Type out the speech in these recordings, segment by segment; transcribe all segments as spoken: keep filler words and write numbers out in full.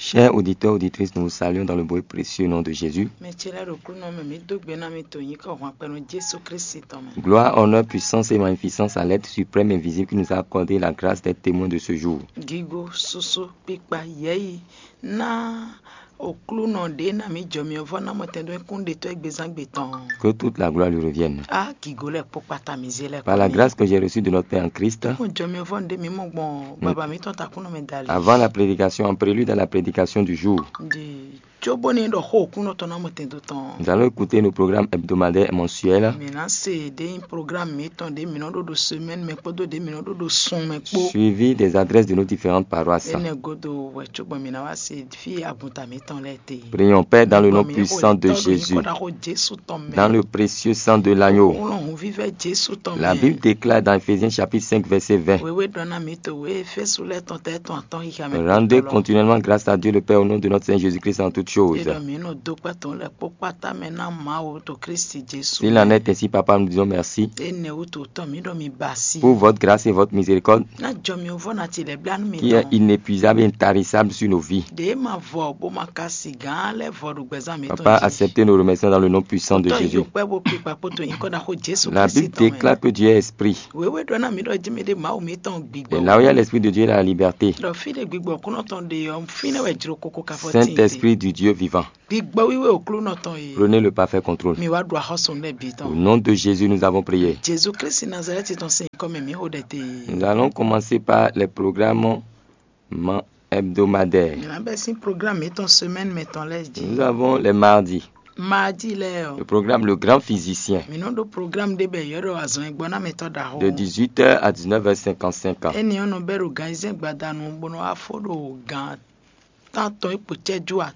Chers auditeurs, auditrices, nous vous saluons dans le beau et précieux nom de Jésus. Mɛ ce lɛ́ɛ ɖo Aklúnɔ mɛ, mǐ dó gbe ná mi to nyǐkɔ hwanpɛnu Jesu Kristi tɔn mɛ. Gloire, honneur, puissance et magnificence à l'être suprême et invisible qui nous a accordé la grâce d'être témoin de ce jour. Gigo, susu, kpikpa, yɛyi ná Aklúnɔ ɖě ná mǐ jɔ myɔ vɔ́ ná mɔtɛn ɖó kún ɖetɔ́ égbezán gbe tɔn. Que toute la gloire lui revienne. A gigo lɛ́ɛ kpó kpata mǐ zé lɛ́ɛ Par la grâce que j'ai reçue de notre Père en Christ, Kún jɔ myɔ vɔ́ ɖé mǐ mɔ gbɔn baba mǐtɔn takúnɔ mɛ dali. Avant la prédication, en prélude à la prédication du jour, Ɖi cóbónú é ɖɔ xó Aklúnɔ tɔn ná mɔtɛn dó tɔn. Nous allons écouter nos programmes hebdomadaires et mensuels. Mǐ ná se ɖě nyí programme mǐtɔn ɖě mǐ nɔ ɖó ɖo semaine mɛ kpódó ɖě mǐ nɔ ɖó ɖo sun mɛ kpó. Suivi des adresses de nos différentes paroisses. Énɛ́ gúdo wɛ cóbɔ mǐ ná wá se fí agunta mǐtɔn lɛ́ɛ te. Prions, Père, dans le nom puissant de Jésus, Jesu tɔn mɛ. Dans le précieux sang de l'agneau. Wlɔn hun vívɛ Jesu tɔn mɛ. La Bible déclare dans Éphésiens chapitre cinq, verset vingt, Wéwé ɖɔ ná mǐ to wé Efésu lɛ́ɛ tɔn tɛ́ tɔn atɔn xixa mɛ. Rendez continuellement grâce à Dieu le Père au nom de notre Seigneur Jésus-Christ en toutes choses. Ɖɔ mǐ nɔ dó kpɛ́ tɔn lɛ́ɛ kpó kpátá mɛ ná Mawu to Kristi Jesu. S'il en est ainsi, Papa, nous disons merci. Énɛ́ wútu tɔn mǐ ɖɔ mi basi. Pour votre grâce et votre miséricorde. Ná jɔ mi vɔ ná ti lɛ bla nú mi. Qui est inépuisable et intarissable sur nos vies. Ɖě ma vɔ bó ma ka si gǎn lɛ́ vɔ ɖo gbɛzán mǐtɔn. Papa, acceptez nos remerciements dans le nom puissant de Jésus. Tɔn yi kpɛ bó kpikpa kpótó nyǐkɔ ná xó Jesu. La Bible déclare que Dieu est esprit. Wéwé ɖɔ ná mi ɖɔ jí mi ɖe Mawu mǐtɔn gbigbɔ. Et là où il y a l'esprit de Dieu, il y a la liberté. Ɖɔ fí ɖe gbigbɔ kúnɔ tɔn ɖe ɔ́, fínɛ́ wɛ jló kókó ká fɔ tín. Saint-Esprit du Dieu vivant. Gbigbɔ wíwé Aklúnɔ tɔn e. Prenez le parfait contrôle. Mi wá ɖu axɔ́sú lɛ́ɛ bǐ tɔn. Au nom de Jésus, nous avons prié. Jesu Kristi Nazalɛ́ti tɔn sín nyǐkɔ mɛ mǐ xo ɖɛ te. Nous allons commencer par les programmes hebdomadaires. Mǐ ná bɛ́ sín programme mǐtɔn semaine mɛ tɔn lɛ́ɛ jí. Nous avons les mardis. Mardi lɛ́ɛ ɔ́. Le programme Le Grand Physicien. Mǐ nɔ ɖó programme ɖé bɔ è ylɔ́ ɖɔ azɔn e gbɔ ná mɛ tɔn ɖaxó. De dix-huit heures à dix-neuf heures cinquante-cinq. Énɛ́ ɔ́ nɔ bɛ́ ɖo gan ayizɛ́n gbadanu bó nɔ wá fó ɖo gan tántɔn é kpo cɛ́jú atɔn.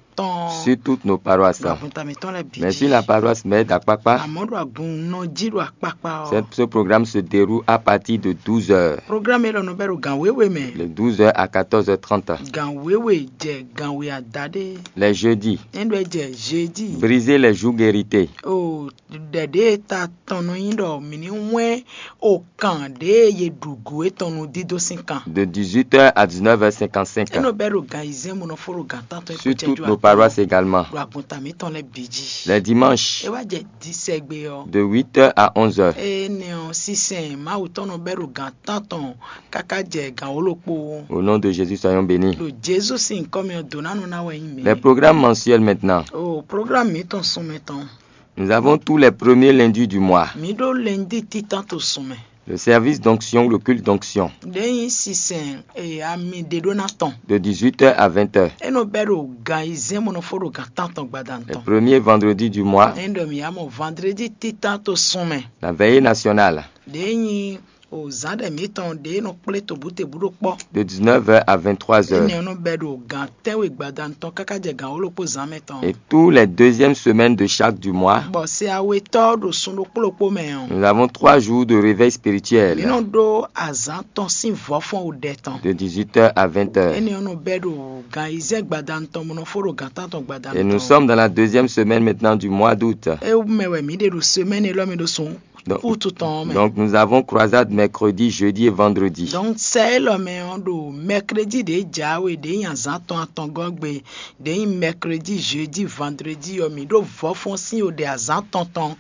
Sur toutes nos paroisses. Ɖo agunta mǐtɔn lɛ́ɛ bǐ. Mais sur la paroisse mère d'Akpakpa. Àmọ́ ɖo agun nɔ jí ɖo akpakpa ɔ́. Ce, ce programme se déroule à partir de douze heures. Programme élɔ́ nɔ bɛ́ ɖo gan wěwe mɛ. De douze heures à quatorze heures trente. Gan wěwe jɛ gan we adaɖé. Les jeudis. É ɖɔ é jɛ jeudi. Briser les jougs irrités. O ɖɛ̌ ɖé e ta tɔn nɔ nyí ɖɔ mǐ ní wɛ́n o kan ɖě e è ɖu gǔ étɔn nú dídó sín kan. De dix-huit heures à dix-neuf heures cinquante-cinq. É nɔ bɛ́ ɖo gan ayizɛ́n bó nɔ fó ɖo gan tántɔn é Sur toutes nos paroisses également. Ɖo agunta mǐtɔn lɛ́ɛ bǐ jí. Les dimanches. É wá jɛ disɛgbe ɔ́. De huit heures à onze heures. Énɛ́ ɔ́ sísɛn Mawu tɔn nɔ bɛ́ ɖo gan tántɔn káká jɛ gan wǒ-ɖokpó. Au nom de Jésus, soyons bénis. Ɖo Jezu sín nyǐkɔ mɛ ɔ́, dǒ ná nɔ ná wɛ nyí mǐ. Les programmes mensuels maintenant. O programme mǐtɔn sunmɛ tɔn. Nous avons tous les premiers lundis du mois. Mǐ ɖó lɛndí títán to sunmɛ. Le service d'onction ou le culte d'onction. Ɖě nyí sinsɛn e ami ɖe ɖó ná tɔn. De dix-huit heures à vingt heures. É nɔ bɛ́ ɖo gan ayizɛ́n bó nɔ fó ɖo gan tántɔn gbadanu Le tɔn. Premier vendredi du mois. É ɖɔ mǐ yá mɔ vandredi títán to sunmɛ. La veillée nationale. Ɖě nyí o zǎn ɖɛ mǐtɔn ɖě nɔ kplé tobútebú ɖó kpɔ́. De dix-neuf heures à vingt-trois heures. Énɛ́ ɔ́ nɔ bɛ́ ɖo gan tɛ́nwe gbadanu tɔn káká jɛ gan wǒ-ɖokpó zǎn mɛ tɔn. Et tous les deuxièmes semaines de chaque du mois, Bɔ se awetɔ́ ɖo sun ɖokpó ɖokpó mɛ ɔ́, nous avons trois jours de réveil spirituel. Mǐ nɔ ɖó azǎn tɔn sín vɔ̌fɔ́n ɖɛ tɔn. De dix-huit heures à vingt heures. Énɛ́ ɔ́ nɔ bɛ́ ɖo gan ayizɛ́n gbadanu tɔn bó nɔ fó ɖo gan tántɔn gbadanu tɔn. Et nous sommes dans la deuxième semaine maintenant du mois d'août. É mɛ wɛ mǐ ɖe ɖo semɛ́ni élɔ́ mɛ ɖo sun Donc, Août tɔn ɔ́ mɛ. Donc nous avons croisade mercredi, jeudi et vendredi. Donc sɛ élɔ́ mɛ ɔ́ ɖo mɛkredi ɖě jǎwe ɖě nyi azǎn tɔn atɔngɔ́ gbe ɖě nyi mɛkredi, jeudi, vandredi ɔ́ mǐ ɖó vɔ̌fɔ́n sín o ɖe azǎn tɔn tɔn.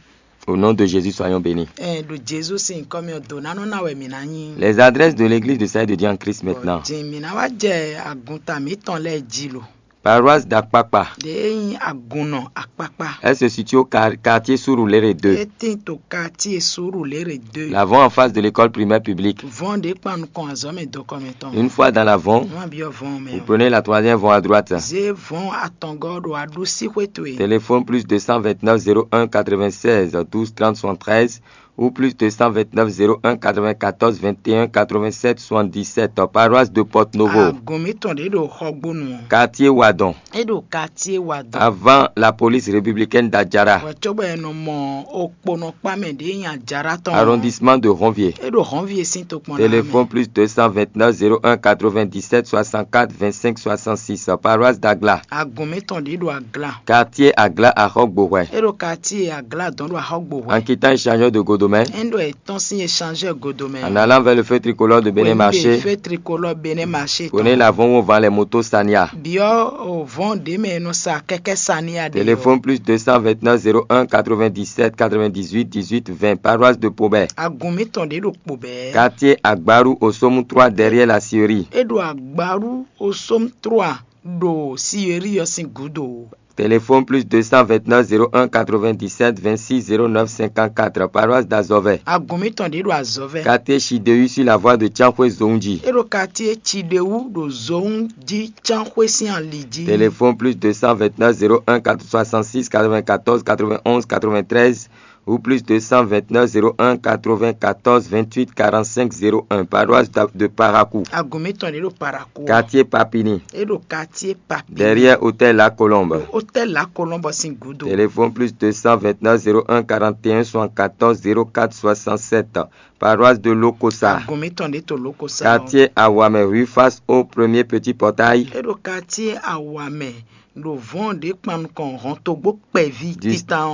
Au nom de Jésus, soyons bénis. Ɛ ɖo Jezu sín nyǐkɔ mɛ ɔ́, dǒ ná nɔ ná wɛ mǐ ná nyí. Les adresses de l'église de Salut de Dieu en Christ maintenant. Din mǐ ná wá jɛ agunta mǐtɔn lɛ́ɛ jí lo. Paroisse d'Akpakpa. Ɖě e nyí agunnɔ akpakpa. Elle se situe au quar- quartier Surulere deux. É tín to quartier Surulere deux. L'avant en face de l'école primaire publique. Vɔn ɖě kpan nukɔn azɔ̌ mɛ dɔkɔ mɛ tɔn. Une fois dans l'avant, Má byɔ́ vɔn mɛ. Vous prenez la troisième voie à droite. Zé vɔn atɔngɔ́ ɖo aɖusí xwé towe. Téléphone plus deux cent vingt-neuf zéro un quatre-vingt-seize douze trente soixante-treize ou plus deux cent vingt-neuf zéro un quatre-vingt-quatorze vingt et un quatre-vingt-sept soixante-dix-sept, paroisse de Porto Novo. Agun mǐtɔn ɖě ɖo Xɔgbónu ɔ́. Quartier Wadon. É ɖo quartier Wadon. Avant la police républicaine d'Adjara. Wɛ cóbɔ è nɔ mɔ okponɔkpa mɛ ɖě nyi Adjara tɔn. Arrondissement de Ronvier. É ɖo Ronvier sín tokpɔn. Téléphone plus deux cent vingt-neuf zéro un quatre-vingt-dix-sept soixante-quatre vingt-cinq soixante-six, paroisse d'Agla. Agun mǐtɔn ɖě ɖo Agla. Quartier Agla Axɔgbohwɛ. É ɖo quartier Agla dɔn ɖo Axɔgbohwɛ. En quittant échangeur de Godo. Domaine. Endo e tɔn sin échangeur Godomɛ. En allant vers le feu tricolore de Bénin Marché. Feu tricolore Bénin Marché. Prenez l'avant où on vend les motos Sania. Biɔ o vɔn de mɛ no sa kɛkɛ Sania de. Téléphone plus deux cent vingt-neuf zéro un quatre-vingt-dix-sept quatre-vingt-dix-huit dix-huit vingt, paroisse de Pobé. Agun mi tɔn de ɖo Pobé. Quartier Agbaru au Somme trois derrière la scierie. E ɖo Agbaru o Somme trois ɖo scierie ɔ sin gudo. Téléphone plus deux cent vingt-neuf zéro un quatre-vingt-dix-sept vingt-six zéro neuf cinquante-quatre, paroisse d'Azovè. Agun mi tɔn de ɖo Azovè. Quartier Chidewu sur la voie de Tiankhoué Zongji. E ɖo quartier Chidewu ɖo Zongji Tiankhoué sin ali jí. Téléphone plus deux cent vingt-neuf zéro un quatre-vingt-six quatre-vingt-quatorze quatre-vingt-onze quatre-vingt-treize ou plus deux cent vingt-neuf zéro un quatre-vingt-quatorze vingt-huit quarante-cinq zéro un, paroisse de Parakou. Agun mi tɔn de ɖo Parakou. Quartier Papini. E ɖo quartier Papini. Derrière hôtel La Colombe. Hôtel La Colombe sin gudo. Téléphone plus deux cent vingt-neuf zéro un quarante et un soixante-quatorze zéro quatre soixante-sept, paroisse de Lokosa. Agun mi tɔn de to Lokosa. Quartier Awamè, rue face au premier petit portail. E ɖo quartier Awamè ɖo vɔn ɖe kpan nukɔn hɔn togbo kpɛvi. Du,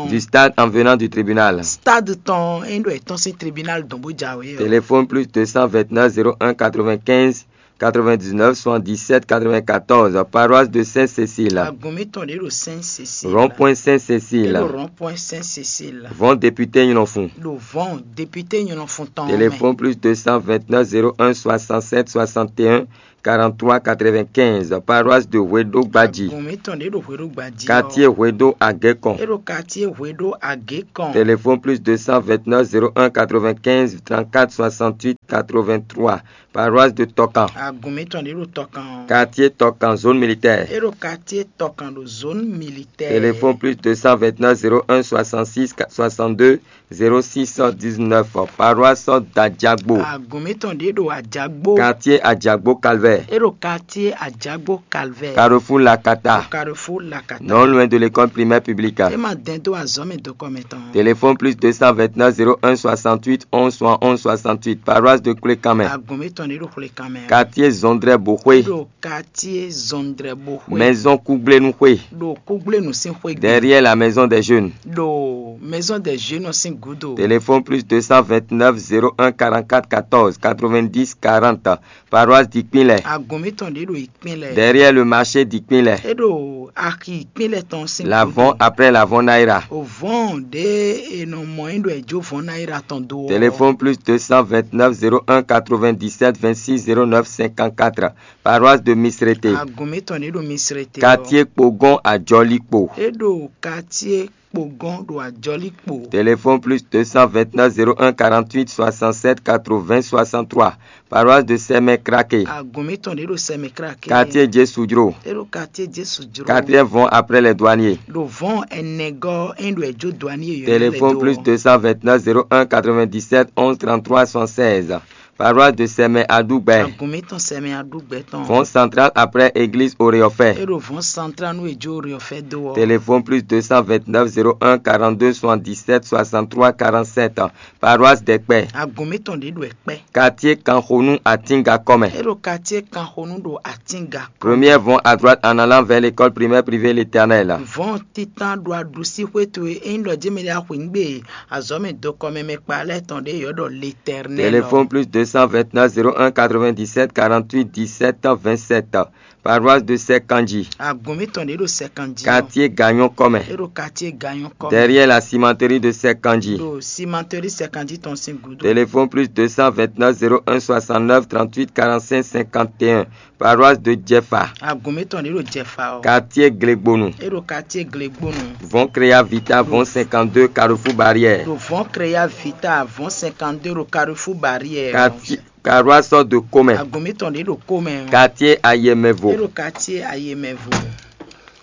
du stade en venant du tribunal. Stade tɔn e ɖo etɔn sin tribunal dɔn bó jawe. Téléphone plus deux cent vingt-neuf zéro un quatre-vingt-quinze quatre-vingt-dix-neuf soixante-dix-sept quatre-vingt-quatorze, paroisse de Sainte-Cécile. Agun mi tɔn de ɖo Sainte-Cécile. Rond-point Sainte-Cécile. E ɖo rond-point Sainte-Cécile. Vɔn député Nyinɔfun. Ɖo vɔn député Nyinɔfun tɔn. Téléphone plus deux cent vingt-neuf zéro un soixante-sept soixante et un quarante-trois quatre-vingt-quinze, paroisse de Hweɖo Gbadji. Agun mi tɔn de ɖo Hweɖo Gbadji. Quartier Hweɖo Agekɔn. E ɖo quartier Hweɖo Agekɔn. Téléphone plus deux cent vingt-neuf zéro un quatre-vingt-quinze trente-quatre soixante-huit quatre-vingt-trois, paroisse de Tɔkan. Agun mi tɔn de ɖo Tɔkan. Quartier Tɔkan, zone militaire. E ɖo quartier Tɔkan ɖo zone militaire. Téléphone plus deux cent vingt-neuf zéro un soixante-six soixante-deux zéro six dix-neuf, paroisse d'Adjagbo. Agun mi tɔn de ɖo Adjagbo. Quartier Adjagbo Calvaire. E ɖo quartier Adjagbo Calvaire. Carrefour Lakata. Carrefour Lakata. Non loin de l'école primaire publique. E ma dɛn do azɔmɛ do kɔmɛ tɔn. Téléphone plus deux cent vingt-neuf zéro un soixante-huit onze soixante-onze soixante-huit, paroisse de Koulékamɛ. Agun mi tɔn de ɖo Koulékamɛ. Quartier Zondrɛ Boxwe. Ɖo quartier Zondrɛ Boxwe. Maison Kugblenu Xwe. Ɖo Kugblenu sin xwe gbe. Derrière la maison des jeunes. Ɖo maison des jeunes sin gudo. Téléphone plus deux cent vingt-neuf zéro un quarante-quatre quatorze quatre-vingt-dix quarante, paroisse d'Ikpinlɛ. Agun mi tɔn de ɖo Ikpinlɛ. Derrière le marché d'Ikpinlɛ. E ɖo axi Ikpinlɛ tɔn sin gudo. L'avant après l'avant Naira. O vɔn de e nɔ mɔ yin ɖo e jo vɔn Naira tɔn do. Téléphone plus deux cent vingt-neuf zéro un quatre-vingt-dix-sept vingt-six zéro neuf cinquante-quatre, paroisse de Misrete. Agun mi tɔn de ɖo Misrete. Quartier Kpogon Adjɔlikpo. E ɖo quartier Kpogon ɖo Adjɔlikpo. Téléphone plus deux cent vingt-neuf zéro un quarante-huit soixante-sept quatre-vingts soixante-trois, paroisse de Sɛmɛ Krake. Agun mi tɔn de ɖo Sɛmɛ Krake. Quartier Jesudro. E ɖo quartier Jesudro. Quatrième vɔn après les douaniers. Ɖo vɔn ɛnɛgɔ e ɖo e jo douanier yɔ. Téléphone plus deux cent vingt-neuf zéro un quatre-vingt-dix-sept onze trente-trois soixante-seize, paroisse de Sɛmɛ Adugbɛ. Agun mi tɔn Sɛmɛ Adugbɛ tɔn. Vɔn central après église Oreofɛ. E ɖo vɔn central nu e jo Oreofɛ do ɔ. Téléphone plus deux cent vingt-neuf zéro un quarante-deux soixante-dix-sept soixante-trois quarante-sept, paroisse d'Ɛkpɛ. Agun mi tɔn de ɖo Ɛkpɛ. Quartier Kanxonu Atinga kɔmɛ. E ɖo quartier Kanxonu ɖo Atinga. Première vont à droite en allant vers l'école primaire privée L'Éternel. Vɔn titan ɖo aɖusi xwé towe e nyí ɖɔ jɛmɛ ɖe axwǐngbe azɔ̌ mɛ dokɔmɛ mɛ kpa lɛ́ɛ tɔn ɖe yɔ̌ ɖɔ L'Éternel. Téléphone plus deux cent vingt-neuf zéro un quatre-vingt-dix-sept quarante-huit dix-sept vingt-sept, paroisse de Sɛkanji. Agun mi tɔn ɖe ɖo Sɛkanji. Quartier Gagnon kɔmɛ. E ɖo quartier Gagnon kɔmɛ. Derrière la cimenterie de Sɛkanji. Ɖo cimenterie Sɛkanji tɔn sin gudo. Téléphone plus deux cent vingt-neuf zéro un soixante-neuf trente-huit quarante-cinq cinquante et un, paroisse de Jefa. Agun mi tɔn ɖe ɖo Jefa ɔ. Quartier Glegbonu. E ɖo quartier Glegbonu. Vɔn Créa Vita, vɔn cinquante-deux, Carrefour Barrière. Ɖo vɔn Créa Vita, vɔn cinquante-deux ɖo Carrefour Barrière. Quartier, paroisse de Comɛ. Agun mi tɔn ɖe ɖo Comɛ. Quartier Ayemɛvo. E ɖo quartier Ayemɛvo.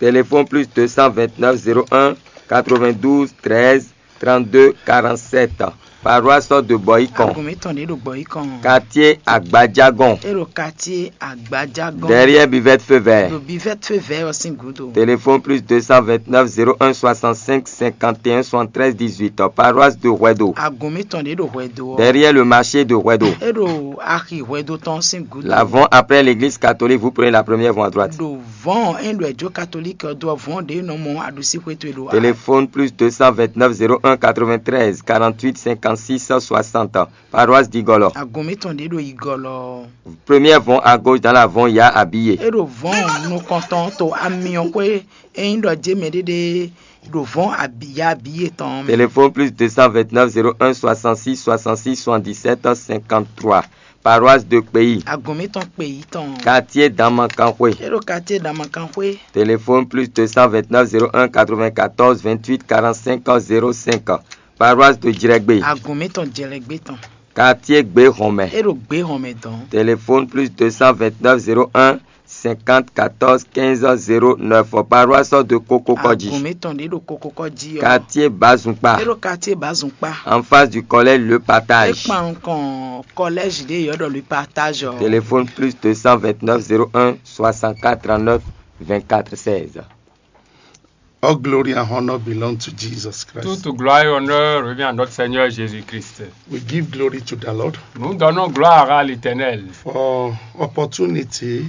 Téléphone plus deux cent vingt-neuf zéro un quatre-vingt-douze treize trente-deux quarante-sept, paroisse de Boyikon. Agun mi tɔn ɖe ɖo Boyikon. Quartier Agbadjagon. E ɖo quartier Agbadjagon. Derrière Bivette Feu Vert. Ɖo Bivette Feu Vert ɔ sin gudo. Téléphone plus deux cent vingt-neuf zéro un soixante-cinq cinquante et un soixante-treize dix-huit, paroisse de Hwedo. Agun mi tɔn ɖe ɖo Hwedo ɔ. Derrière le marché de Hwedo. E ɖo axi Hwedo tɔn sin gudo. L'avant après l'église catholique, vous prenez la première voie à droite. Ɖo Vɔ̌n ɔ́, é ɖo ɛjǒ katolíki ɔ́ dó ɔ́, vɔ̌n ɖě nɔ mɔ aɖusíxwé towe ɖo Téléphone plus deux cent vingt-neuf zéro un quatre-vingt-treize quarante-huit cinquante-six soixante. Paroisse d'Igolo. Agun mǐtɔn ɖě ɖo Igolo. Première vente à gauche dans la vente Ya Abiye. É ɖo vɔ̌n nukɔntɔn to amyɔxwé e nyí ɖɔ jé mɛɖéɖé ɖo vɔ̌n ya Abiye tɔn mɛ. Téléphone plus deux cent vingt-neuf zéro un soixante-six soixante-six soixante-dix-sept cinquante-trois. Paroisse de Kpeyi. Agun mǐtɔn kpe yi tɔn. Quartier Damakankhwe. É ɖo quartier Damakanxwé. Téléphone plus deux cent vingt-neuf zéro un quatre-vingt-quatorze vingt-huit quarante-cinq zéro cinq. Paroisse de Djrègbé. Agun mǐtɔn jɛlɛgbé tɔn. Quartier Gbéhɔnmɛ. É ɖo gbé hɔn mɛ dɔn. Téléphone plus deux cent vingt-neuf zéro un cinquante quatorze quinze zéro neuf. Paroisse de Kokokodji. Agun mǐtɔn ɖě ɖo kokokɔ jí ɔ́. Quartier Bazumpa. É ɖo quartier Bazumpa. En face du collège Le É Partage. kpan nukɔn collège ɖě yɔ́ ɖɔ le partage ɔ́. Téléphone plus deux cent vingt-neuf zéro un soixante-quatre trente-neuf vingt-quatre seize. All glory and honor belong to Jesus Christ. Toute gloire et honneur revient à notre Seigneur Jésus-Christ. We give glory to the Lord Nous donnons gloire à l'Éternel for opportunity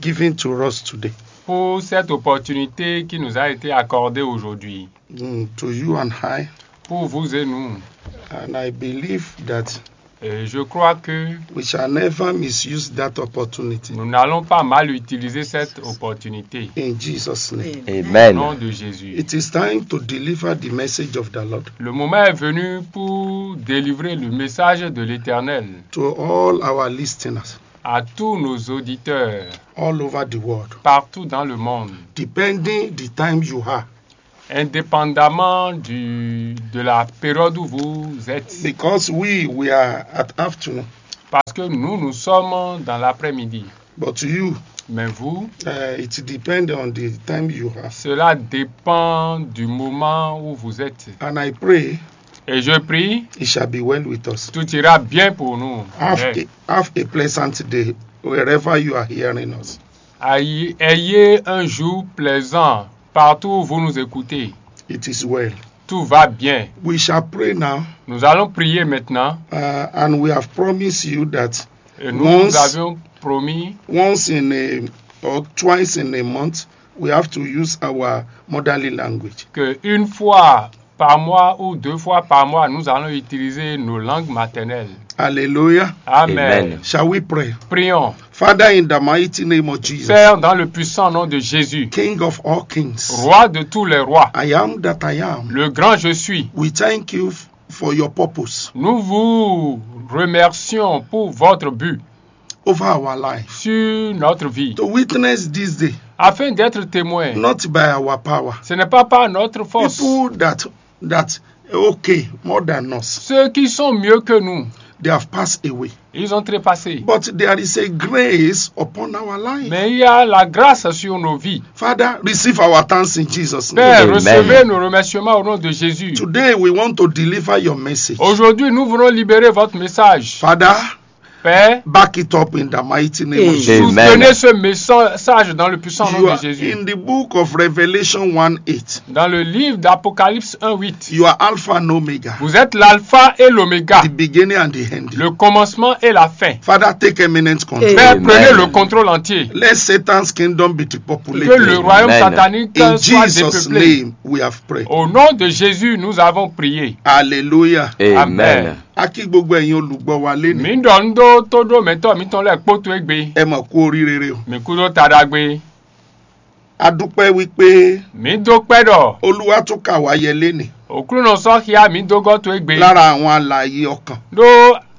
given to us today. Pour cette opportunité qui nous a été accordée aujourd'hui. Mm, to you and I, Pour vous et nous. And I believe that Et je crois que we shall never misuse that opportunity. Nous n'allons pas mal utiliser cette opportunité. In Jesus' name. Au Amen. Nom de Jésus. It is time to deliver the message of the Lord Le moment est venu pour délivrer le message de l'Éternel to all our listeners à tous nos auditeurs all over the world, partout dans le monde, depending the time you are. Indépendamment du, de la période où vous êtes. Because we, we are at afternoon, Parce que nous, nous sommes dans l'après-midi. But you, Mais vous, uh, it depends on the time you are. Cela dépend du moment où vous êtes. And I pray Et je prie, it shall be well with us. Tout ira bien pour nous. Have, Amen. A, have a pleasant day wherever you are hearing us. Ayez, ayez un jour plaisant partout où vous nous écoutez. It is well. Tout va bien. We shall pray now, Nous allons prier maintenant. Uh, and we have promised you that Et nous, Once- nous avions promis once in a or twice in a month, we have to use our motherly language. Qu'une fois par mois ou deux fois par mois, nous allons utiliser nos langues maternelles. Hallelujah. Amen. Amen. Shall we pray? Prions. Father, in the mighty name of Jesus, Père, dans le puissant nom de Jésus, King of all kings, Roi de tous les rois, I am that I am. Le grand je suis, We thank you f- for your purpose Nous vous remercions pour votre but over our life. Sur notre vie, To witness this day, afin d'être témoin. Not by our power. Ce n'est pas par notre force. People that that okay more than us, Ceux qui sont mieux que nous, they have passed away. Ils ont trépassé. But there is a grace upon our life. Mais il y a la grâce sur nos vies. Father, receive our thanks in Jesus' name. Père, Amen. Recevez nos remerciements au nom de Jésus. Today we want to deliver your message. Aujourd'hui, nous voulons libérer votre message. Father, Père, back it up in the mighty name of Amen. Jesus. Soutenez ce message dans le puissant nom You de are Jésus. In the book of Revelation one eight. Dans le livre d'Apocalypse un huit, You are Alpha and Omega, vous êtes l'alpha et l'oméga, the beginning and the end. Le commencement et la fin. Father, take eminent control. Père, Amen. Prenez le contrôle entier. Let Satan's kingdom be depopulated. Que le royaume In satanique soit Jesus' dépeuplé. Name we have prayed. Au nom de Jésus, nous avons prié. Hallelujah. Amen. Amen. A kí gbogbo ẹ̀yin olùgbọ́ wa lénìí. Mǐ ɖɔ nú ɖó tó ɖó mɛ̌tɔ́ mǐtɔn lɛ́ɛ kpó towe gbe. Ẹ mọ̀ kú oríire o. Mǐ kú ɖó taɖagbe. A dúpẹ́ wípé Mǐ dó kpɛ́ ɖɔ Olúwa tún kà wá yẹ lénìí Òklúnɔ sɔ́ xyá mǐ dó gɔ́ towe gbe. Lára àwọn alààyè ọkàn. Ɖó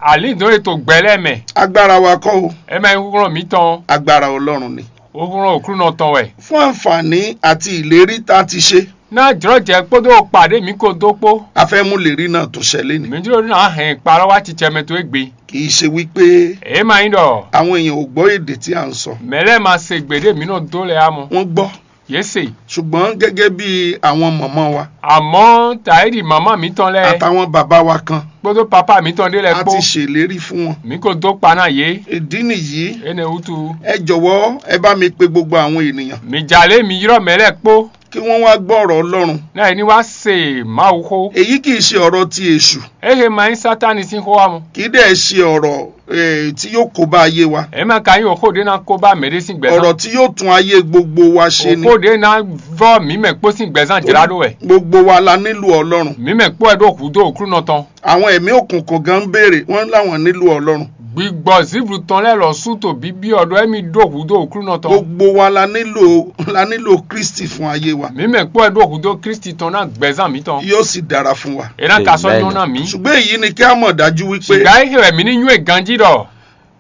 alǐndɔn e to gbɛ lɛ́ɛ mɛ. Agbára wa kọ́ o. É mɛ nyí húnglɔ́n mǐtɔn. Agbára Ọlọ́run ni. Húnglɔ́n Òklúnɔ tɔn wɛ. Fún àǹfààní àti ìlérí tá a ti ṣe. Ná jlɔ́jɛ kpódó kpa ɖé mǐ ko dó kpó. A fẹ́ mú ìlérí náà tún ṣẹ lénìí. Mǐ jló ná hɛn kpa lɔ wá cicɛ mɛ towe gbe. Kì í ṣe wípé É ma nyí ɖɔ àwọn èèyàn ò gbọ́ èdè tí à ń sọ. mɛ̌ lɛ́ɛ ma se gbe ɖé mǐ nɔ dó lɛ́ɛ ǎ mɔ. Wọ́n gbọ́. Yě se. Ṣùgbọ́n gẹ́gẹ́ bí àwọn màmá wa Àmọ́ tàíɖì màmá mǐtɔn lɛ́ɛ àtàwọn bàbá wa kan, kpódó papá mǐtɔn ɖé lɛ́ɛ a kpó. Ti ṣèlérí fún wọn Mǐ ko dó kpa ná yě. Ìdí nìyí. Énɛ́ wútu. Ẹ jọ̀wọ́, ẹ bá mi pe gbogbo àwọn ènìyàn. Mǐ jalě mǐ ylɔ́ mɛ̌ lɛ́ɛ kpó. kí wọ́n wá gbọ́ ọ̀rọ̀ Ọlọ́run. Ní àyè ní wá se Mawu xó. Èyí kì í ṣe ọ̀rọ̀ ti èṣù. Ehe ma nyí Sátani sín xó wá mɔ. Kì í dẹ̀ ṣe ọ̀rọ̀ eh, tí yóò kó bá ayé wa. Ema ka nyí òxó ɖé ná kó bá mɛ ɖé sín gbɛzán. Ọ̀rọ̀ tí yóò tún ayé gbogbo wa ṣe ni. Òxó ɖé ná vɔ mǐ mɛ kpó sín gbɛzán jlá ɖó wɛ. Gbogbo wa la nílò Ọlọ́run. Mǐ mɛ kpó wɛ ɖó hǔdó òklúnɔ tɔn. Àwọn ẹ̀mí òkùnkùn gan ń béèrè, wọ́n láwọn nílò Ọlọ́run. Gbigbɔ zǐvlu tɔn lɛ́ɛ lɔ sú to bíbí ɔ́ ɖɔ émí ɖó hǔdó òklúnɔ tɔn. Gbogbo wa la nílò la nílò Kristi fún ayé wa. Mǐ mɛ kpó wɛ ɖó hǔdó Kristi tɔn ná gbɛzán mǐtɔn. Yóò sì dára fún wa. É ná ka sɔ́ nyɔ́ ná mǐ. Ṣùgbọ́n èyí ni kí a mọ̀ dájú wípé Ṣùgbọ́n é hɛn wɛ mǐ ní nywɛ́ ganjí ɖɔ.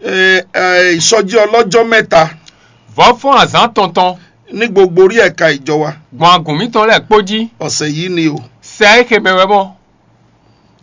Eh, eh, ìsọjí ọlọ́jọ́ mẹ́ta Vɔ̌ fɔ́n azǎn tɔn tɔn ní gbogbo orí ẹ̀ka ìjọ wa. Gbɔn agǔn mǐtɔn lɛ́ɛ kpó jí. Ọ̀sẹ̀ yìí ni o. Sɛ é xe mɛ wɛ mɔ.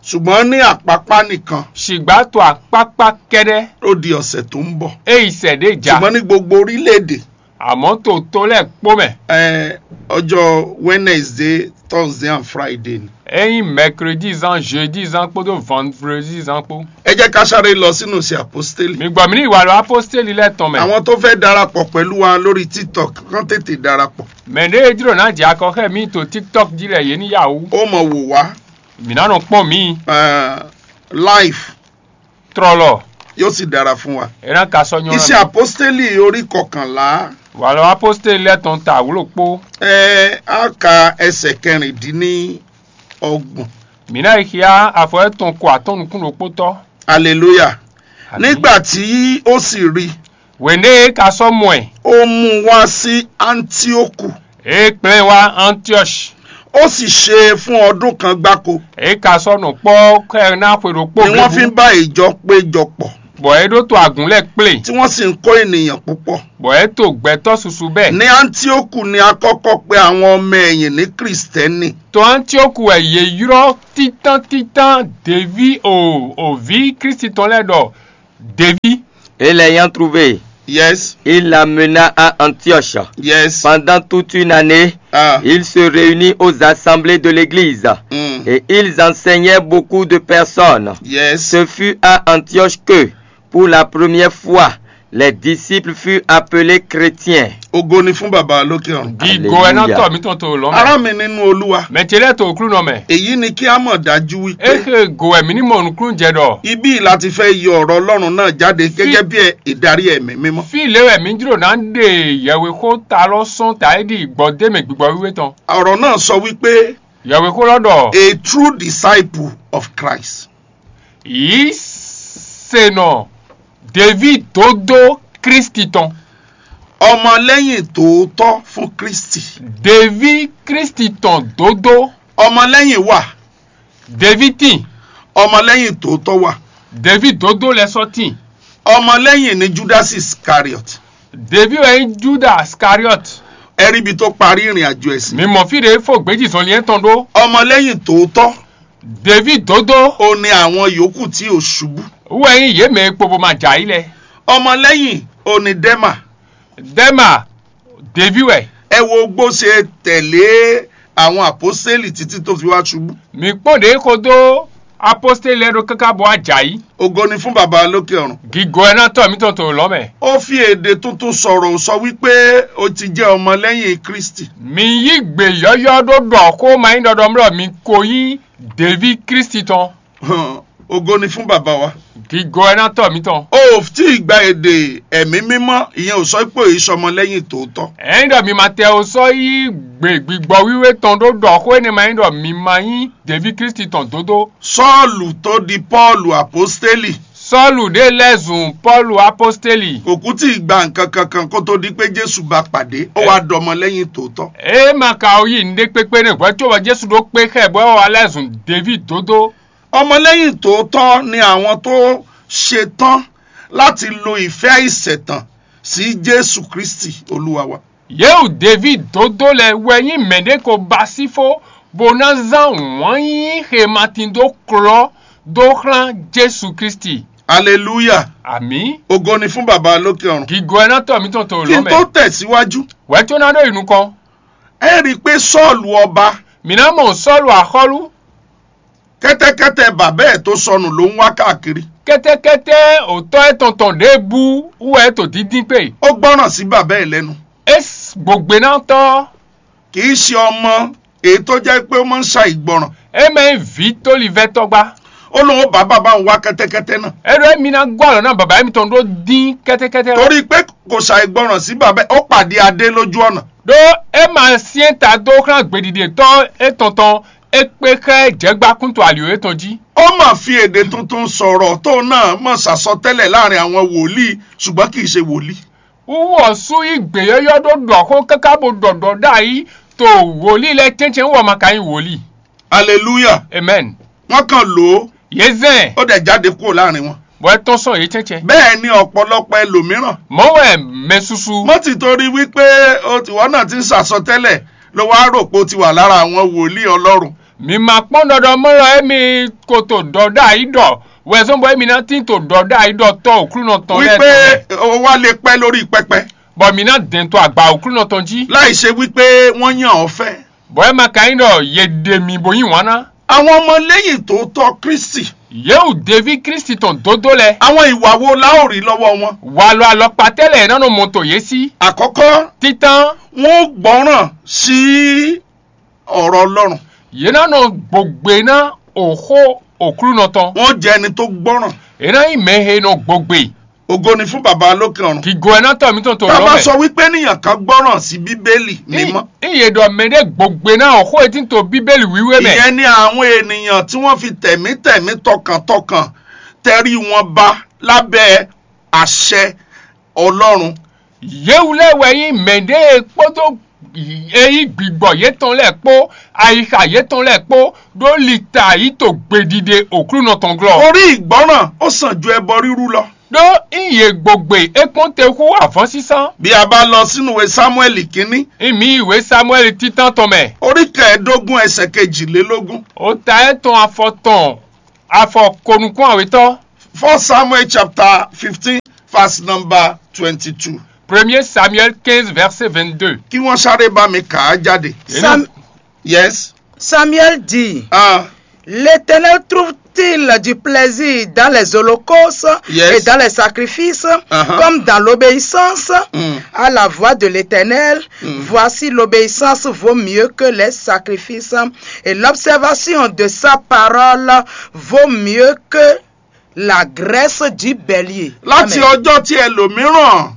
Ṣùgbọ́n ní àpápá nìkan, Ṣìgbá to akpákpá kɛ́ɖɛ́. Ó di ọ̀sẹ̀ tó ń bọ̀. É yi sɛ ɖé ja. Ṣùgbọ́n ní gbogbo orílẹ̀-èdè, Àmọ́ to to lɛ́ɛ kpó mɛ. Eh, ọjọ́ Wednesday, Thursday and Friday ni. É nyí mɛkredi zán, jeudi zán kpódó vandredi zán kpó. Ẹ jẹ́ ká sáré lọ sínú iṣẹ́ àpọ́stélì. Mi gbɔ mi ní ìwà lɔ aposteli lɛ́ɛ tɔn mɛ. Àwọn tó fẹ́ darapọ̀ pẹ̀lú wa lórí TikTok kán tètè darapọ̀. Mɛ ɖé e jló ná jɛ akɔ xɛ mi to TikTok jí lɛ yě ní yá wú. Ó mọ wò wá. Mǐ ná nɔ kpɔ́n mǐ. Eh, live. Trɔlɔ. Yóò sì dára fún wa. É ná ka sɔ́ nyɔ́. Iṣẹ́ àpọ́stélì orí kọkànlá. Wà lɔ aposteli lɛ́ɛ tɔn ta wúlò kpó. Ẹ á ka ẹsẹ̀ kẹrìndínlọ́gbọ̀n. Mǐ ná yi xyá afɔ étɔn ko atɔ́n nukún ɖokpótɔ́. Aleluya. Àmín. Nígbà tí ó sì rí, Wěné é ka sɔ́ mɔ ɛ. Ó mú wá sí Antíókù. É kplé wá Antiɔ́si. Ó sì ṣe é fún ọdún kan gbáko. É ka sɔ́ nɔ kpɔ́ kɛ ná xwe ɖokpó Ni wọ́n fi ń bá ìjọ péjọ pọ̀. Bɔ é ɖó to agǔn lɛ́ɛ kplé. Tí wọ́n sì ń kó ènìyàn púpọ̀. Bɔ é to gbɛtɔ́ susu bɛ́. Ní Antíókù ni a kọ́kọ́ pe àwọn ọmọ ẹ̀yìn ní Kristẹni. To Antiɔ́ku wɛ yě ylɔ́ títán títán Deví o o vǐ Klísu tɔn lɛ́ɛ ɖɔ Deví. Et l'ayant trouvé, Yes. Il l'amena à Antioche. Yes. Pendant toute une année, Ah. Ils se réunirent aux assemblées de l'église Mm. Et ils enseignaient beaucoup de personnes. Yes. Ce fut à Antioche que, pour la première fois, les disciples furent appelés chrétiens. Ògo ni fún Baba lókè ọ̀run. Gígo ẹ náà tọ̀ mí tɔn tó lọ́mọ. Ará mi nínú Olúwa. Mẹ̀tẹ́lẹ̀ tó kúrú nọ mẹ́. Èyí ni kí a mọ̀ dájú wípé Éhe gò ẹ̀mí ní mọ̀ nùkúrú jẹ dọ̀. Ibí láti fẹ́ yọ ọ̀rọ̀ Ọlọ́run náà jáde gẹ́gẹ́ bí ẹ- ìdarí ẹ̀mí mímọ́. Fí ìléwẹ̀ mí jírò náà ń ɖe yẹ̀wé xó ta lɔ sɔ́n ta é ɖi gbɔdémè gbígbɔ wíwé tɔn. Ọ̀rọ̀ náà sọ wípé Yẹ̀wé xó lɔ ɖɔ. A true disciple of Christ. Yǐ se nɔ David dódó Kristi tɔn. Ọmọlẹ́yìn tòótọ́ fún Kristi. David Kristi tɔn dódó. Ọmọlẹ́yìn wà. David tin. Ọmọlẹ́yìn tòótọ́ wà. David dódó lɛ sɔ́ tin. Ọmọlẹ́yìn ni Judas Iscariot. David wɛ nyí Judas Iscariot. Ẹ rí ibi tó parí ìrìn àjò ẹ̀ sí. Mi mɔ fí ɖě fo gbějì zɔnlin tɔn ɖó. Ọmọlẹ́yìn tòótọ́. David dódó. Ó ní àwọn yòókù tí ò ṣubú. Wɛ nyí yě mɛ e kpo bó ma jà yí lɛ. Ọmọlẹ́yìn ó ní Dẹ́mà. Dɛma, David wɛ. Ẹ wo bó ṣe tẹ̀lé àwọn àpọ́sítélì títí tó fi wá ṣubú. Mi kpɔn ɖě xo dó aposteli lɛ́ɛ ɖó káká bɔ ajayi. Ògo ni fún Baba lókè ọ̀run. Gígo ɛ ná tɔ mítɔn to lɔ mɛ. Ó fi èdè tuntun sọ̀rọ̀ sọ wípé ó ti jẹ́ ọmọlẹ́yìn Kristi. Mi yí gbè yɔ́yɔ́ ɖó ɖɔ xó ma nyí ɖɔɖɔmlɔ mi ko yí David Kristi tɔn. Hàn, ògo ni fún Baba wa. Gígo ɛ ná tɔ mítɔn. O ò tí ì gba èdè ẹ̀mí mímọ́, ìyẹn ò sọ pé ò yí sọmọlẹ́yìn tòótọ́. Ɛyin ɖɔ mi ma tɛ o sɔ yí gbe gbigbɔ wiwe tɔn ɖó ɖɔ xó énɛ́ ma nyí ɖɔ mi ma nyí David Kristi tɔn dódó. Sɔ́ɔ̀lù tó di Pɔ́ɔlù àpọ́stélì. Sɔ́ɔ̀lù ɖé lɛ́ zun Pɔ́ɔlù aposteli. Kò kú tí ì gba nǹkan kankan kó tó di pé Jésù bá pàdé, ó wá dɔmọlẹ́yìn tòótọ́. É ma ka o yí nɖé kpékpé nɛ hwɛ có bɔ Jésù ɖó kpé xɛ bɔ é wá lɛ́ zun David dódó. Ọmọlẹ́yìn tòótọ́ ni àwọn tó ṣe tán láti lo ìfẹ́ àìṣẹ̀tàn sí Jésù Kristi Olúwa wa. Yéwu David dódó lɛ wɛ nyí mɛɖé ko ba sífó bó ná zán wǎn yíyí xematin dó klɔ́ dó xlán Jésù Kristi. Aleluya. Àmín. Ògo ni fún Baba lókè ọ̀run. Gígo ɛ ná tɔ mítɔn tó Kí lɔ n mɛ. Tó tẹ̀síwájú, Wɛ̌ tó ná ɖó yi nukɔn. Ẹ rí i pé Sọ́ọ̀lù ọba, Mǐ ná mɔ Sɔ́lu axɔ́lú. Kẹ́tẹ́kẹ́tẹ́ bàbá ẹ̀ tó sọnù ló ń wá káàkiri. Kɛ́tɛ́kɛ́tɛ́ òtɔ́ ɛ tɔn tɔn ɖěbú wú wɛ é to díndín kpé. Ó gbọ́ràn sí bàbá ẹ̀ lẹ́nu. É s- gbògbénátɔ́ Kì í ṣe ọmọ èyí tó jẹ́ pé ó máa ń ṣàìgbọràn. É mɛ nyí vǐ tólivɛ́tɔ́gbá. Ó lóun ó bá bàbá òun wá kẹ́tẹ́kẹ́tẹ́ náà. É ɖɔ émí ná gɔ́ alɔ ná baba émítɔn ɖó dín kɛ́tɛ́kɛ́tɛ́ lɔ. Torí pé kò ṣàìgbọràn sí bàbá ẹ̀, ó pàdé adé lójú ọ̀nà. Ɖó é ma syɛ́n ta dó xlán gběɖiɖetɔ́ étɔn tɔn, é kpé xá ɛ jɛ̌gbá kúntu alǐ étɔn jí. Ó mà fi èdè tuntun sọ̀rọ̀ tó náà mọ̀ sàsọtẹ́lẹ̀ láàrin àwọn wòlíì, ṣùgbọ́n kì í ṣe wòlíì. Wúwú ɔ́ sú yí gběyɔ́yɔ́ ɖó ɖɔ xó káká bó ɖɔ ɖɔ ɖ'ayǐ to wòlíì lɛ́ɛ cɛ́ncɛ́n wú ɔ́ ma ka nyí wòlíì. Aleluya. Amen. Wọ́n kàn lò ó, Yě zɛn ó dẹ̀ jáde kúrò láàrin wọn. Bɔ é tɔ́n sɔn yě cɛ́ncɛ́n. Bẹ́ẹ̀ ni ọ̀pọ̀lọpọ̀ ẹlòmíràn. Mɔ̌ wɛ mɛ susu. Mọ́ ti torí wípé o ti wọ́n náà ti ń sàsọtẹ́lẹ̀ ló wá rò pé o ti wà lára àwọn wòlíì Ọlọ́run. Mi ma kpɔ́n ɖɔɖɔ mɔ lɔ émi ko to ɖɔ ɖ'ayǐ ɖɔ wɛ zɔ́n bɔ émi ná tín to ɖɔ ɖ'ayǐ ɖɔ tɔ́ òklúnɔ tɔn lɛ́ɛ Wípé tɔn mɛ. O wá lè pẹ́ lórí pẹpẹ. Bɔ mi ná dɛn to agba òklúnɔ tɔn jí. Láì ṣe wípé wọ́n yàn ọ́ fẹ́. Bɔ é ma ka nyí ɖɔ yě ɖe mi bó yí wǎn ná. Àwọn ọmọlẹ́yìn tòótọ́ Kristi. Yěwu deví Kristi tɔn dódó lɛ. Àwọn ìwà wo la ó rí lọ́wọ́ wọn? Wàlɔ alɔkpatɛ́ lɛ ná nɔ mɔ to yě sí. Àkọ́kọ́, Títán, wọ́n ó gbọ́ràn sí ọ̀rọ̀ Ọlọ́run. Yě ná nɔ gbogbe ná òxó òklúnɔ tɔn. Wọ́n jẹ́ ẹni tó gbọ́ràn. Yě ná nyí mɛ he nɔ gbogbe. Ògo ni fún Baba lókè ọ̀run. Kì gɔ́ ná tɔ mítɔn tó Tá a lɔ bá mɛ. Sọ wípé níyàn kan gbọ́ràn sí Bíbélì mímọ́, Iye ɖɔ mɛ ɖé gbogbe ná òxó e tín to Bíbélì wíwé mɛ. Ìyẹn ni àwọn ènìyàn tí wọ́n fi tẹ̀mítẹ̀mí tọkàntọkàn tẹrí wọn ba lábẹ́ àṣẹ Ọlọ́run. Yěwu lɛ́ɛ wɛ nyí mɛ ɖé e kpódó eyí gbigbɔ yětɔn lɛ́ɛ kpó ayixa yětɔn lɛ́ɛ kpó ɖó lita yí to gbeɖiɖe òklúnɔ tɔn glɔ́. Orí ìgbọ́ràn ó sàn ju ẹbọ rírú lọ. Ɖó ényí yě gbogbe é kpɔ́n te hú avɔ́sísán. Bí a bá lọ sínú ìwé Sámúẹ́lì kínní, Ényí mǐ yi wě Samuɛ́li títán tɔn mɛ. Orí kẹẹ̀ẹ́dógún ẹsẹ̀ kejìlélógún. Ota étɔn afɔ tɔn afɔ konukún awětɔ́. First Samuel chapter fifteen, verse number twenty-two. Premier Samuel quinze, verset vingt-deux. Kí wọ́n sáré bá mi kà á jáde. Sam- Yes. Samuel dit, Ah, L'Éternel trouve-t-il du plaisir dans les holocaustes Yes. et dans les sacrifices, Uh-huh. comme dans l'obéissance Mm. à la voix de l'Éternel? Mm. Voici l'obéissance vaut mieux que les sacrifices, et l'observation de sa parole vaut mieux que la graisse du bélier. Láti Amen. Ọjọ́ tí ẹlòmíràn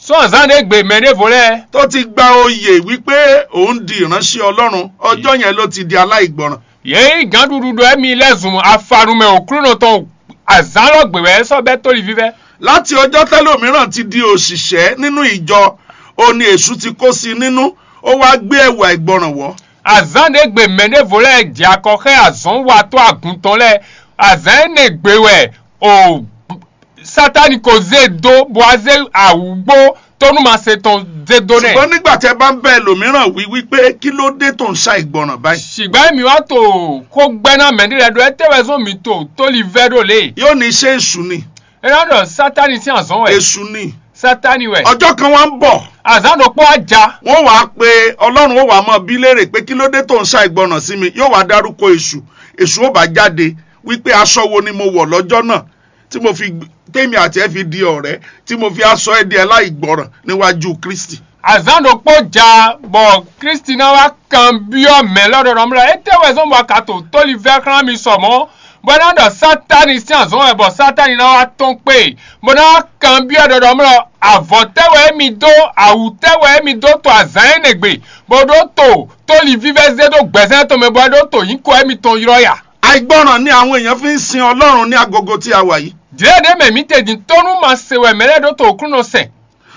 Sɔ́ azǎn ɖé gbe mɛ ɖěvo lɛ́ɛ. Tó ti gba oyè wípé òun di ìránṣẹ́ Ọlọ́run, ọjọ́ yẹn ló ti di aláìgbọràn. Yě yí gǎnɖuɖu ɖɔ émi lɛ́ zun afanumɛ òklúnɔ tɔn azǎn lɔ gbe wɛ é sɔ́ bɛ́ tóliví vɛ́. Láti ọjọ́ tẹ́lòmíràn ti di òṣìṣẹ́ nínú ìjọ, ó ní èṣù ti kó sí nínú, ó wá gbé ẹ̀wù àìgbọràn wọ̀. Azǎn ɖé gbe mɛ ɖěvo lɛ́ɛ jɛ akɔ xá azɔ̌n watɔ́ agun tɔn lɛ́ɛ. Azǎn énɛ́ gbe wɛ o Satani ko zé dó bó wá zé awǔgbó tónúmasɛ tɔn zé dó nɛ́. Ṣùgbọ́n nígbà tí ẹ bá ń bẹ ẹlòmíràn wí wípé kí ló dé tó ń ṣàìgbọràn báyìí? Ṣùgbọ́n èmi wá tó kó gbẹ́ ná mɛ ɖé lɛ́ɛ ɖɔ étɛ́ wɛ zɔ́n mi to tóli vɛ́ ɖó lě. Yóò ní ṣe èṣù ni. É ná ɖɔ Sátani sín azɔ̌ wɛ. Èṣù ni. Sátani wɛ. Ọjọ́ kan wá ń bọ̀. Azǎn ɖokpó á ja. Wọ́n wàá pe Ọlọ́run, ó wàá mọ bí léèrè pé kí ló dé tó ń ṣàìgbọràn sí mi. Yóò wá dárúkọ èṣù. Èṣù ó bá jáde wípé aṣọ wo ni mo wọ̀ lọ́jọ́ náà tí mo fi gb- tèmi àti ẹ fi di ọ̀rẹ́, tí mo fi aṣọ ẹ di aláìgbọràn níwájú Kristi. Azǎn ɖokpó ja bɔ Kristi ná wá kanbyɔ́ mɛ lɔ ɖɔɖɔmlɔ étɛ́ wɛ zɔ́n bɔ a ka to tóli vɛ́ xlán mi sɔ mɔ̌, bɔ é ná ɖɔ Sátani sín azɔ̌ wɛ bɔ Sátani ná wá tɔ́n kpé, bɔ é ná wá kanbyɔ́ ɖɔɖɔmlɔ avɔ̌ tɛ́ wɛ émi dó, awǔ tɛ́ wɛ émi dó to azǎn énɛ́ gbe, bó ɖó to tóli vívɛ́ zé ɖó gbɛ̌zán tɔn mɛ bɔ é ɖó to nyǐkɔ émitɔn ylɔ́ ya. Àìgbọràn ni àwọn èèyàn fi ń sin Ọlọ́run ní agogo tí a wà yìí. Jlɛ̌ɖé mɛ mǐ te din tónú ma se wɛ mɛ lɛ́ɛ ɖó to Aklúnɔ sɛn.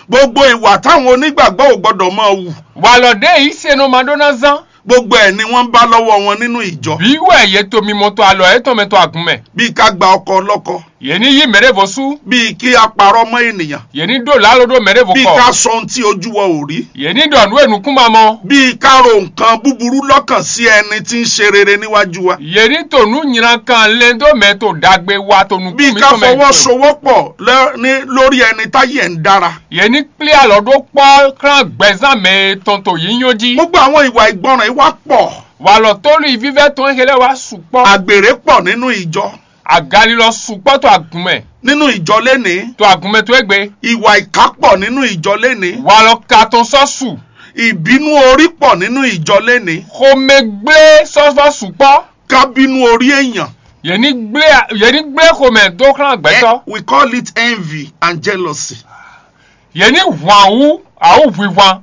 Gbogbo ìwà táwọn onígbàgbọ́ ò gbọ́dọ̀ máa wù. Walɔ ɖě yí se nɔ ma ɖó ná zán. Gbogbo ẹ̀ ni wọ́n ń bá lọ́wọ́ wọn nínú ìjọ. Bí wɛ yě to mimɔ to alɔ yětɔn mɛ to agun mɛ. Bíi ká gba ọkọ ọlọ́kọ. Yě ní yí mɛ ɖěvo sú. Bíi kí a parọ́ mọ́ ènìyàn. Yě ní ɖó lǎlo ɖó mɛ ɖěvo Bíi kɔ. Ká sọ ohun tí ojú wọ ò rí. Yě ní ɖɔ nǔ e nukún ma mɔ. Bíi ká ro nǹkan búburú lọ́kàn sí ẹni tí ń ṣe rere níwájú wa. Yě ní to nǔ nylankan lɛn dó mɛ to ɖagbe wa to nukún Bíi ká mitɔn mɛ. Fọwọ́sowọ́pọ̀ lẹ́- ní- lórí ẹni táyé ẹ̀ ń dára. Yě ní kplé alɔ ɖó kpɔ́ xlán gbɛzán mɛ e tɔn to yínyɔ́ jí. Gbogbo àwọn ìwà ìgbọràn yìí wá pọ̀. Walɔ tólu vívɛ́ tɔn e lɛ́ wá sukpɔ́. Àgbèrè pọ̀ nínú ìjọ. Agalilɔ sukpɔ́ to agun mɛ. Nínú ìjọ lénìí. To agun mɛ to égbé. Ìwà ìkà pọ̀ nínú ìjọ lénìí. Walɔ ka tɔn sɔ́ su. Ìbínú orí pọ̀ nínú ìjọ lénìí. Xomɛgblé sɔ́ vɔ sukpɔ́. Kábínú orí èèyàn. Yě ní gblé yě ní gblé xomɛ dó xlán gbɛtɔ́. Eh, we call it envy and jealousy. Yě ní hwan wú awúhwihwan.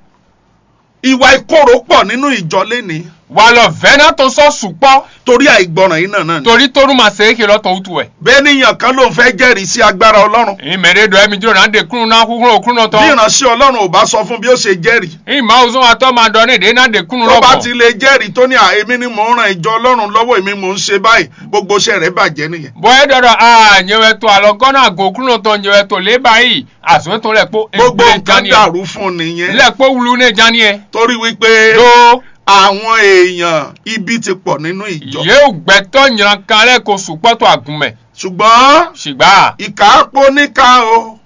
Ìwà ìkorò pọ̀ nínú ìjọ lénìí. Walɔ vɛ̌nátɔn sɔ́ sukpɔ́. Torí àìgbọràn yìí náà náà ni. Torí tónú ma se é xe lɔ tɔn wútu wɛ. Bẹ́ẹ̀ ni èèyàn kan ló ń fẹ́ jẹ́rìí sí agbára Ọlọ́run. Ìmẹ̀rẹ́ ɖɔ mi jló ná ɖe kúnnú ná xúxló òkúnnú Bí tɔn. Ìránṣẹ́ Ọlọ́run ò bá sọ fún bí ó ṣe jẹ́rìí. Ìmọ̀ òzún wa tọ́ ma ɖɔ ní ɖě ná ɖe kúnnú Tó bá lọ́kọ̀. Ti lè jẹ́rìí tó ní à èmi ni mò ń ran ìjọ Ọlọ́run lọ́wọ́, èmi mò ń ṣe báyìí, gbogbo iṣẹ́ rẹ̀ bàjẹ́ nìyẹn. Bɔ é ɖɔ ɖɔ a nyɛ wɛ to alɔ gɔ́ ná go òkúnnú tɔn nyɛ wɛ to lě báyìí. Azɔ̌ tɔn lɛ kpó Gbogbo nǹkan dàrú fún un nìyẹn. Lɛ kpó wlu nɛ ján ni ɛ. Torí wípé Ɖó àwọn èèyàn ibi ti pọ̀ nínú ìjọ. Yě gbɛtɔ́ nylankan lɛ ko sukpɔ́ to agun mɛ. Ṣùgbọ́n Ṣùgbọ́n ìkà á pó níkà o,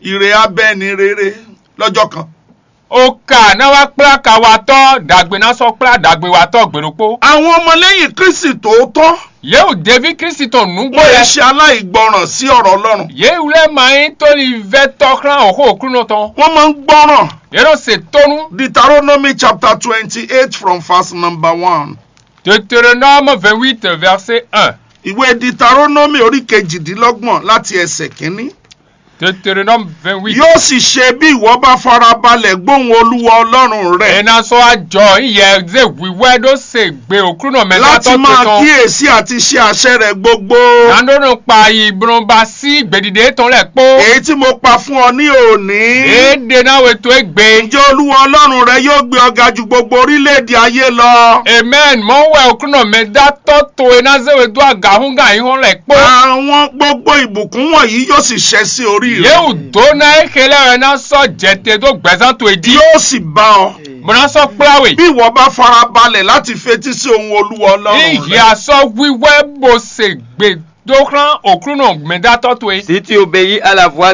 ìrè á bẹ́ ní rere lọ́jọ́ kan. O ka ná wá kplá kawatɔ́ ɖagbe ná sɔ́ kplá ɖagbewatɔ́ gbe ɖokpó. Àwọn ọmọlẹ́yìn Kristi tòótọ́ Yě wú deví Kristi tɔn nǔgbó wọ́n yě lɛ. Ṣe aláìgbọràn sí ọ̀rọ̀ Ọlọ́run. Yě wú lɛ́ ma nyí tóli vɛ́ tɔ́ xlán òxó òklúnɔ tɔn. Wọ́n máa ń gbọ́ràn. Yě nɔ se tónú. Deuteronomy chapter twenty-eight from verse number one. Deutéronome vingt-huit, verset un. Ìwé Deuteronomy orí kejìdínlọ́gbọ̀n láti ẹsẹ̀ kínní. Deutéronome vingt-huit. Yóò sì ṣe bí ìwọ bá farabalẹ̀ gbóhùn Olúwa Ọlọ́run rẹ. Ena sɔ ajɔ yɛ ze wíwɛ ɖó se gbe òklúnɔ mɛ Láti máa tɔn. Kíyèsí àti ṣe àṣẹ rẹ̀ gbogbo. Nánú nɔ kpa yi blɔn ba sí gbèdìdè tɔn lɛ kpó. Èyí tí mo pa fún ọ ní òní. Èdè náà wè tó é gbé. Ǹjẹ́ Olúwa Ọlọ́run rẹ yóò gbé ọ ga ju gbogbo orílẹ̀-èdè ayé lọ? Amen. Mɔ wɛ òklúnɔ mɛ dá tɔ́ to e ná zé we dó agǎhúngán ayǐhɔ́n lɛ kpó. Àwọn gbogbo ìbùkún wọ̀nyí yóò sì ṣẹ sí orí rẹ. Yéwu dó ná é xe lɛ́ wɛ ná sɔ́ jɛ te dó gbɛzán towe jí. Yóò sì bá ọ. Bó ná sɔ́ kplá we. Bí ìwọ bá fara balẹ̀ láti fetí sí ohun Olúwa Ọlọ́run rẹ. Ìyá sɔ́ wíwẹ́ bó se gbe dó xlán òklúnɔ mɛdátɔ́ towe. Si tu obéis à la voix de